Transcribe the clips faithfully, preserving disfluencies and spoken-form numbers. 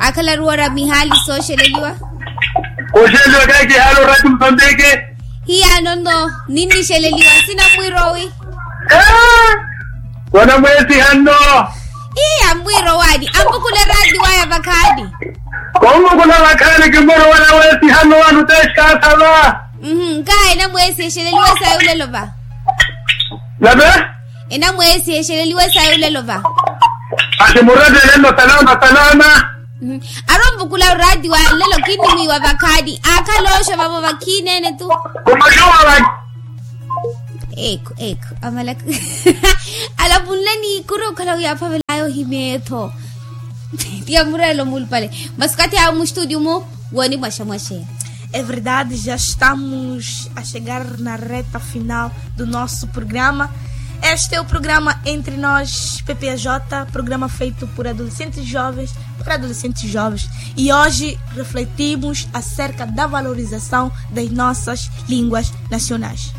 Akhala ruwara mihaali sooxeleliwa. Kooxeleliwa kahi kihaali orati musambiki. Hiyaano nno ninnixeleliwa sina mwirowi. Wanamweesiha nno. Iya mwirowaani ampukule raati waya vakhaani. Kompukula vakhaani kimwirowana weesiha nno wanu teskaasava. Nkaaye enamweesiha exeleliwe sayi olelo va. Nave. Enamweesiha exeleliwe sayi olelo va. Axi murattele nno salama salama. Arompukula oraati wa nlelo kinnimwiiwa vakhaani aakhala ooxo vavo vakhiineene tu. Kumaxuwa vaki. Eko eko amalaka. Alapunlani kuri okhala wi aaphavelaya ohimya etho. Tiya mureelo mulupale. Masi okathi awo mustutiyu mu wooni mwaxamwaxe. É verdade, já estamos a chegar na reta final do nosso programa. Este é o programa Entre Nós, P P A J, programa feito por adolescentes jovens, para adolescentes jovens. E hoje refletimos acerca da valorização das nossas línguas nacionais.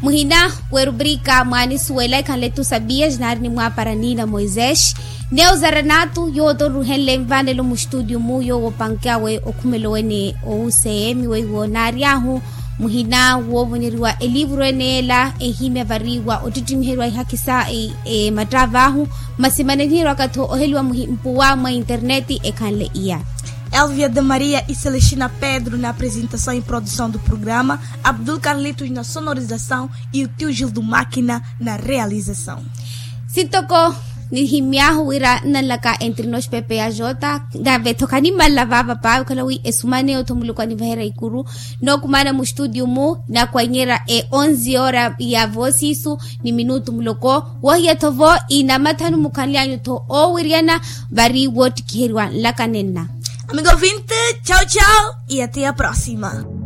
Muhina werubrika mwaanisuwela ekhanle tu sabias naari nimwaapara nina moisés. Neuzara naatu yoowo toruhenle nvaanelo mustutiyu mu yoowo opanke awe okhumela owene owuseemi weiwo naary'ahu. Muhina woovonyeriwa eliivuru ene ela ehimya vari wa ottittimiherya ihakhi sa emattaav'ahu. Masi maneniheriwaka-tho oheliwa mpuwa mwa interneti ekhanle iya. Elvia de maria e celestina pedro na apresentação e produção do programa, abdul carlitos na sonorização e o tio gildo máquina na realização. Sintoko nihimy'ahu wira nnanlaka entre nos pepe ya jota. Nave-tho khanimmalla vaava paawe okhala wi esumana eyo-tho muluku anivaherya ikuru. Nookumaana mustutiyu mu inakwanyerya e onze hora ya voosiisu ni minutu muloko. Wohiya-tho vo inamathanu mukhanly'anyu-tho oowiryana vari woottikiheriwa nlaka nenna. Amigo vinte, chau chau. E até a próxima.